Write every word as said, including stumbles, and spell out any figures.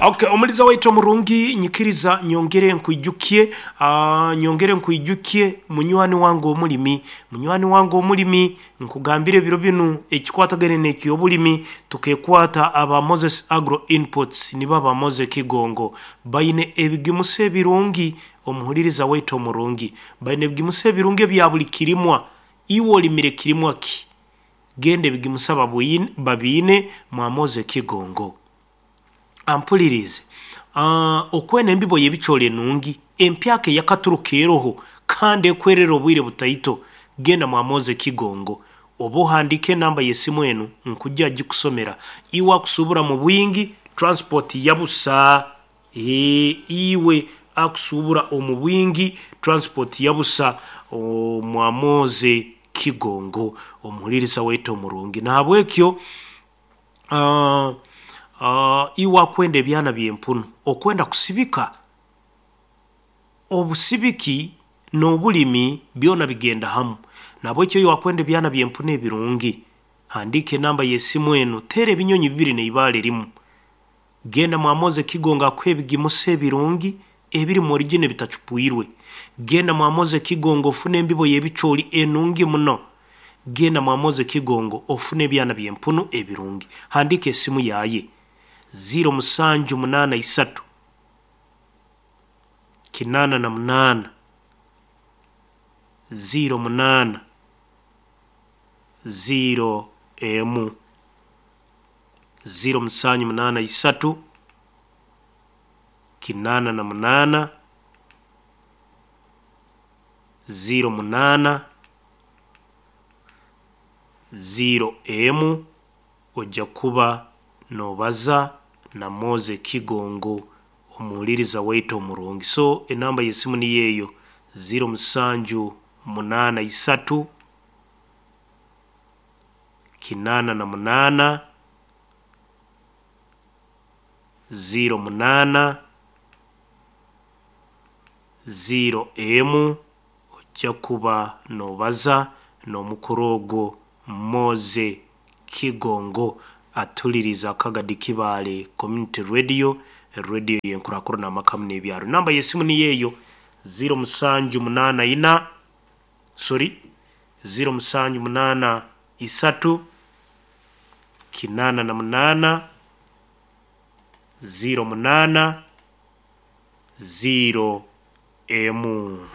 Okay, omuliza waitu omurungi, nyikiriza nyongere nkwijukye, uh, nyongere nkwijukye munywani wange omulimi, munywani wange omulimi, nkugambire ebiro binu ekikwatagane n'ekyobulimi tukekwata aba Moses Agro Inputs, nibo aba Moses Kigongo baine ebigimusa ebirungi. Omuhuliriza waitu omurungi, baine ebigimusa ebirungi ebya buli kirimwa. Iwe olimire kirimwa ki? Genda ebigimusa babwine- babiine mwa Moses Kigongo. Ampulirize, uh, okwena embibo y'ebicoori enungi empyaka eyakaturuka eroho kandi ekwerera obwire butaito, genda mwa Moses Kigongo oba ohandike enamba y'esimu enu nkujja gikusomera. Iwe akusubura mu bwingi, transport yabusa. E, iwe akusubura omu bwingi, transport yabusa mwa Moses Kigongo, omuhuliriza waitu omurungi. Nahabwekyo uh, uh, iwe akwenda ebyana by'empunu, okwenda kusibika, obusibiki n'obulimi byona bigenda hamu. Nahabwekyo iwe akwenda ebyana by'empunu ebirungi, handika enamba y'esimu enu, teera ebinyonyi bibiri n'ibaale rimu, genda mwa Moses Kigongo akuha ebigimusa ebirungi ebiri mu origin ebitacupwirwe. Genda mwa Moses Kigongo ofune embibo y'ebicoori enungi muno. Genda mwa Moses Kigongo ofune ebyana by'empunu ebirungi. Handika esimu yaye ziro musanju munaana isatu kinaana na munaana ziro munaana ziro emu, ziro musanju munaana isatu kinaana na munaana ziro munaana ziro emu. Ojja kuba nobaza na Moses Kigongo, omuhuliriza waitu omurungi. So enamba y'esimu niyo eyo, ziro musanju munaana isatu kinaana na munaana ziro munaana ziro emu. Ojja kuba nobaza n'omukuru ogwo Moses Kigongo atuliriza Kagadi Kibaale Community Radio, radio yenkurakurana amakamu n'ebyaro. Namba y'esimu niyo eyo, ziro musanju munaana ina, sorry, ziro musanju munaana isatu kinaana na munaana ziro munaana ziro emu.